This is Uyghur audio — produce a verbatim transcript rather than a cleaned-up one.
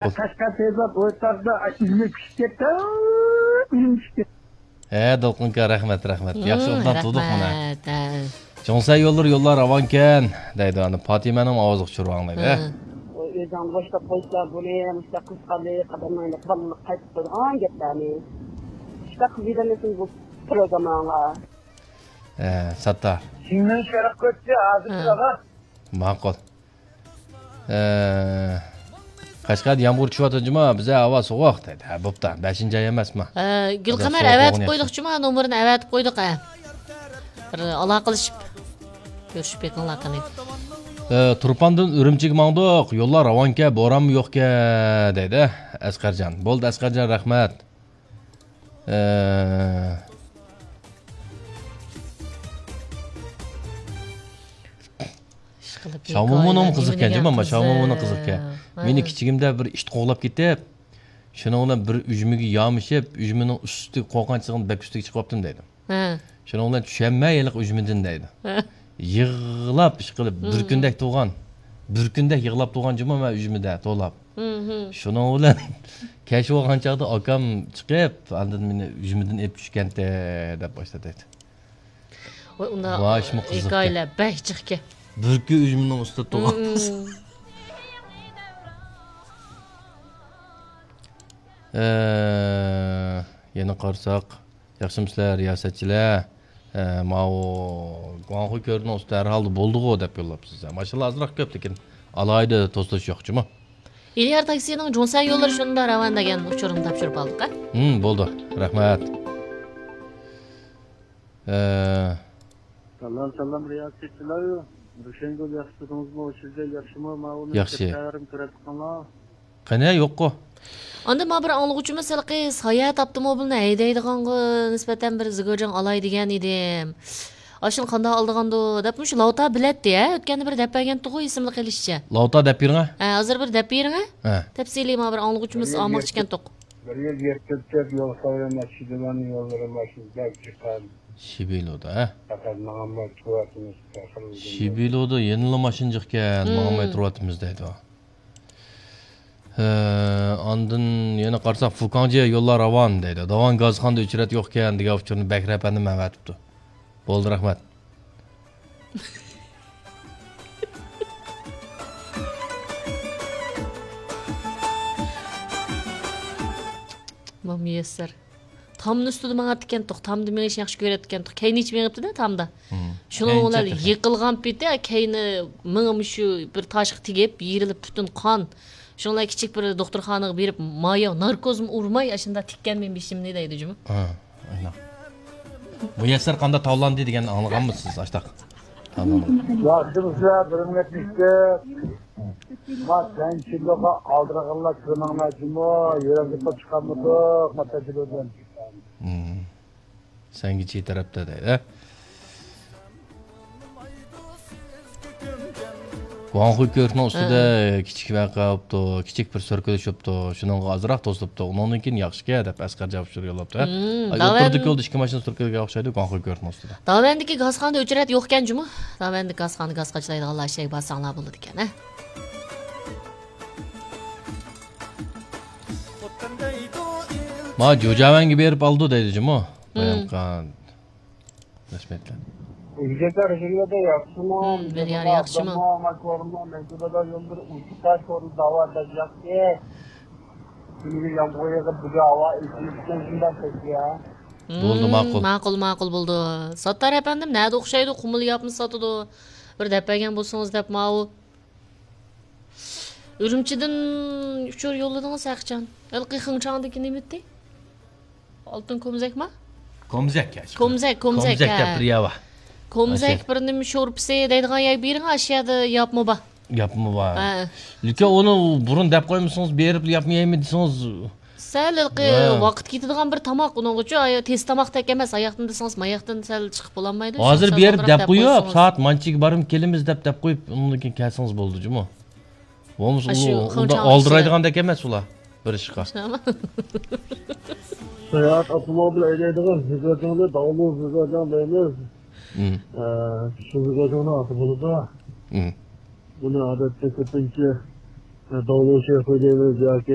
قەشقەر پەيزات ئويتاغدا ئۈزۈلۈپ چۈشۈپ كەتتى. ئۈزۈلۈپ چۈشۈپ كەتتى. ھە، دولقۇن ئاكا، رەھمەت، رەھمەت. ياخشى، ئوبدان تۇردۇق مانا. رەھمەت، ھە. جۇڭسەن يوللىرى يوللار راۋانكەن دەيدۇ. ئانا پاتىمەنىڭ ئاۋازىغا چۈشۈرۈۋاڭ دەيدۇ، ھە. ھە. ئۆزۈڭ بوشلاپ قويسا بۇنى، مۇشۇنداق قىزىقارلىق ئادەملەرنى بالىلىق قايتىپ قويىدىغان گەپلەرنى. شۇنداق قىلىپ يېتەلمىسىڭىز بۇ پروگرامماڭلار. ھە، ساتتار. شىنجاڭ شەرق كۆچتى، ھازىر ھە. تۇرغان. ماقۇل. ئە، قەشقەردە يامغۇر چۈشۈۋاتىدۇ جۇما، بىزدە ھاۋا سوغۇق دەيدۇ. ھە، بوپتۇ. بەشىنچى ئاي ئەمەسمۇ؟ ھە، گۈلقەمەر، سوغۇق ئەۋەتىپ بولغان قويدۇق ياخشى. جۇما، نومۇرىنى ئەۋەتىپ قويدۇق، ھە. بىر ئالاقىلىشىپ كۆرۈشۈپ بېقىڭلار قېنى. ئە، تۇرپاندىن ئۈرۈمچىگە ماڭدۇق، يوللار راۋانكەن، بورانمۇ يوقكەن دەيدۇ ئەسقەرجان. بولدى ئەسقەرجان، رەھمەت. ئە، ئىشقىلىپ شاۋمۇمۇنىڭ ھېكايىلەر قىزىقكەن، نېمە دېگەن جۇما، قىزىق. شاۋمۇمۇنىڭ قىزىقكەن. ھە. مېنى كىچىكىمدە بىر ئىت قوغلاپ كېتىپ، شۇنىڭ بىلەن بىر ئۈجمىگە يامىشىپ، ئۈجمىنىڭ ئۈستىگە قورققان چېغىمدا بەك ئۈستىگە چىقىۋاپتىم دەيدۇ. ھە. شۇنىڭ بىلەن چۈشەلمەي ھېلىقى ئۈجمىدىن دەيدۇ. ھە. يىغلاپ، ئىشقىلىپ، بىر كۈندەك تۇرغان. بىر كۈندەك يىغلاپ تۇرغان جۇما مەن ئۈجمىدە توۋلاپ. شۇنىڭ بىلەن كەچ بولغان چاغدا ئاكام چىقىپ، ئاندىن مېنى ئۈجمىدىن ئېلىپ چۈشكەنتى دەپ باشلىدى. ۋاي، ئۇنداق ۋاي، شۇمۇ قىزىقكەن. ھېكايىلەر بەك جىقكەن. بۈركۈ ئۈجمىنىڭ ئۈستىدە تۇغقان قىز. ئە، يەنە قارىساق، ياخشىمۇسىلەر، رىياسەتچىلەر؟ ئە، ماۋۇ گۇاڭخۇي كۆۋرۈكنىڭ ئۈستىدە ھەر ھالدا بولدىغۇ دەپ يوللاپسىز. ماشىنىلار ئازراق كۆپ، لېكىن ئالاھىدە توسۇلۇش يوق جۇمۇ. ئىليار تاكسىنىڭ جۇڭسەن يوللىرى شۇندا راۋان دېگەن ئۇچۇرىنى تاپشۇرۇپ ئالدۇق، ھە؟ ھىم، بولدى. رەھمەت. ئە، سالام، سالام، رىياسەتچىلەر. روشەنگۈل، ياخشىمۇسىزمۇ؟ سىزدە ياخشىمۇ؟ ماۋۇ ياخشى. كۆرۈپ قالغان. قېنى، يوققۇ. ئاندىن ماڭا بىر ئاڭلىغۇچىمىز ھېلىقى ساياھەت ئاپتوموبىلىنى ھەيدەيدىغانغا نىسبەتەن بىر زىگۇجاڭ ئالاي دېگەن ئىدىم. ئاشۇنى قانداق ئالىدىغاندۇ دەپ، مۇشۇ لاۋتا بىلەتتى، ھە؟ ئۆتكەندە بىر دەپ بەرگەنتىغۇ، ئېسىمدە قېلىشىچە. لاۋتا دەپ بېرىڭە. ھە، ھازىر بىر دەپ بېرىڭە. ھە. تەپسىلىي ماڭا بىر ئاڭلىغۇچىمىز ئالماقچىكەنتۇق. بىر يىل يەتكۈزسەك يول سايلىما، شىدىمان يوللىرى ماشىنا بەك جىقان. شىبىلودا، ھە؟ پەقەت ماڭالماي تۇرۇۋاتىمىز. شىبىلودا يەنىلا ماشىنا جىقكەن، ماڭالماي تۇرۇۋاتىمىز دەيدۇ. ھە، ئاندىن يەنە قارىساق، فۇكاڭجيې يوللار راۋان دەيدۇ. داۋان گازخانىدا ئۆچرەت يوقكەن دېگەن ئۇچۇرنى بەكرى ئەپەندىم ئەۋەتىپتۇ. بولدى، رەھمەت. مۇيەسسەر. تامنىڭ ئۈستىدە ماڭاتتىكەنتۇق، تامدا مېڭىشنى ياخشى كۆرەتتىكەنتۇق. كەينى ھېچ مېڭىپتىدە تامدا. مم. شۇنىڭ بىلەن يىقىلغان پېتى كەينى مېڭىمۇ شۇ بىر تاشقا تېگىپ، يېرىلىپ پۈتۈن قان. شۇنىڭ بىلەن كىچىك بىر دوختۇرخانىغا بېرىپ، مايا ناركوزمۇ ئۇرماي، ئاشۇنداق تىككەن مېنىڭ بېشىمنى دەيدۇ جۇمۇ. ھە، ئاينا. مۇيەسسەر قانداق تاۋلاندى دېگەننى ئاڭلىغانمۇسىز؟ ئاشتاق. ياخشىمۇسىلەر، بىر مىنۇت ئىشتىك. ما سەن چىللىغا ئالدىرىغانلار كۆرمەڭلار جۇمۇ، يۈرەكنى چىقارمىدۇق، ما تەجرىبىدىن. مم. سەنگىچى تەرەپتە دەيدۇ. گۇاڭخۇي كۆۋرۈكنىڭ ئۈستىدە كىچىك ۋەقە بوپتۇ، كىچىك بىر سۈركىلىش بوپتۇ، شۇنىڭغا ئازراق توسۇلۇپتۇ. ئۇنىڭدىن كېيىن ياخشىكەن دەپ ئەسقەر جاۋاب يوللاپتۇ. ھە؟ مم، ئاي، داۋان ئوتتۇرىدىكى يولدا ئىككى ماشىنا سۈركىلگەن ئوخشايدۇ، گۇاڭخۇي كۆۋرۈكنىڭ ئۈستىدە. داۋەندىكى گازخانىدا ئۆچرەت يوقكەن جۇمۇ. داۋەندىكى گازخانا گاز قاچىلايدىغانلار شەيگە بارساڭلار بولىدىكەن، ھە؟ ما جۇجاۋەنگە بېرىپ ئالىدۇ دەيدۇ جۇمۇ. بايام قان. رەھمەتلەر. ئۆزگەرتە رەھىملەردە ياخشىمۇ؟ ھىم، بىر يار ياخشىمۇ؟ ماكورما، مەكتۇبىدا يوللىرى ئۇچۇق تاش كورۇن داۋا دەپ ياخشى. كۈنىگە يامغۇر يېغىپ، بۈگۈن ھاۋا ئېچىلىپ كەتكەن شۇنداق كەتتى يا. ھىم، بولدى، ماقۇل. ماقۇل، ماقۇل بولدى. ساتتار ئەپەندىم، نەدە ئوخشايدۇ؟ قۇمۇل ياپمۇ ساتىدۇ. بىر دەپ بەرگەن بولسىڭىز دەپ ماۋۇ. ئۈرۈمچىدىن ئۇچۇر يوللىدىڭىز ھەقىچان. ھېلىقى خېڭچاڭدىكى نېمە ئىدى؟ ئالتۇن كومزەكما؟ كومزەك يا. كومزەك، كومزەك، كومزەك ھە. دەپ بىر يەر بار. كومزەك ئاشۇ. بىر نېمە شورپىسى دەيدىغان يەر بېرىڭ، ئاشۇ يەردە ياپمۇ بار. ياپمۇ بار. ھە. لېكىن ئۇنى بۇرۇن دەپ قويمىسىڭىز، بېرىپ ياپمۇ يەيمەن دېسىڭىز، سەل ھېلىقى ھە. ۋاقىت كېتىدىغان بىر تاماق ئۇنىڭغىچۇ، ئاي، تېز تاماقتەك ئەمەس، ئاياقتىن دېسىڭىز، ماياقتىن سەل چىقىپ بولالمايدۇ. ھازىر سەل بېرىپ ئالدىراق دەپ دەپ قويۇپ، قويسىڭىز. سائەت مانچىگە بارىمۇ كېلىمىز دەپ، دەپ قويۇپ، ئۇنىڭدىن كېيىن كەلسىڭىز بولىدۇ جۇمۇ. بولمىسا ئاشۇ ئۇ-، ئۇنداق خېڭچاڭ ئالدىرايدىغاندەك ئەمەس ئۇلار، بېرىشقا. ساياھەت ئاپتوموبىل ھەيدەيدىغان زىگاجاڭنى داۋلۇ زىگاجاڭ دەيمىز. مم. ئە، شۇ زىگاجاڭنىڭ ئاتى بولىدۇ. مم. بۇنى ئادەتتە كۆپىنچە داۋلۇ شېخى دەيمىز ياكى